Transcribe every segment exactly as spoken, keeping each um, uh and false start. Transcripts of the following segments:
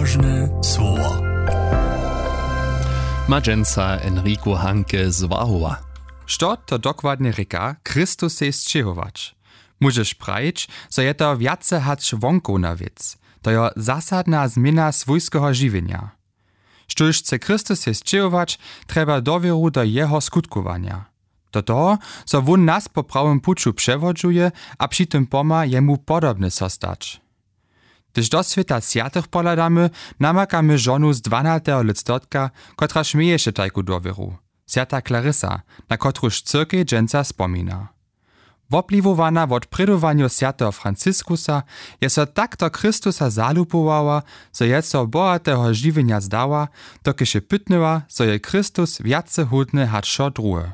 Nabožne słowo. Ma dźensa Enrico Hanke z Wahowa. Što to dokładnje rěka, Chrystusej sćěhować? Móžeš prajić, zo je to wjace hač wonkowna wěc. To jo zasadna změna swójskeho žiwjenja. Štóž chce Chrystusej sćěhować, trjeba dowěru do jeho skutkowanja, do toho, zo wón nas po prawym puću přewodźuje a při tym pomha jemu podobny so stać. Hdyž do swěta swjatych pohladamy, namakamy žonu z dwanateho lětstotka, kotraž měješe tajku dowěru, swjata Clarissa, na kotruž cyrkej dźensa spomina. Wopliwowana wot prědowanjow swjateho Franciskusa, je so tak do Chrystusa zalubowała, zo je so bohateho žiwjenja zdała, dokelž je pytnyła, zo je Chrystus wjace hódny hač wšo druhe.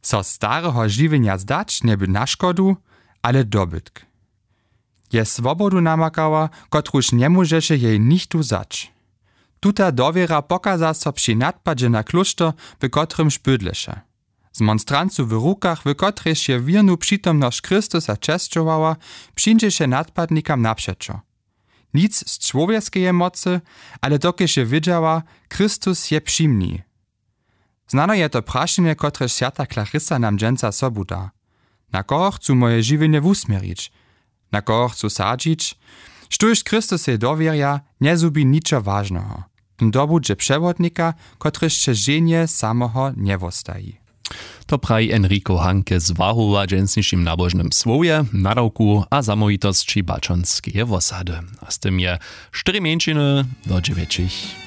So stareho žiwjenja zdać njeby na škodu, ale dobytk. Je swobodu namakała, kotruž njemóžeše jej nichtó wzać. Tuta dowěra pokaza so při nadpadźe na klóšter, w kotrymž bydleše. Z monstrancu w rukach, w kotrejž je wěrnu přitomnosć Chrystusa česćowała, přińdźeše nadpadnikam napřećo. Nic z čłowjeskeje mocy, ale dokelž je wědźała, Chrystus je při mni. Znano je to prašenje, kotrež swjata Clarissa nam dźensa sobu da: Na koho chcu moje žiwjenje wusměrić? Na koho chcu sadźić? Štóž Chrystusej dowěrja, njezhubi ničo wažneho. Ten dobudźe přewodnika, kotryž će ženje samoho njewostaji. To praji Enrico Hanke z Wahowa w dźensnišim nabožnym słowje, nadawku a zamołwitosći baćonskeje wosady. A z tym je štyri mjeńšiny do dźewjećich.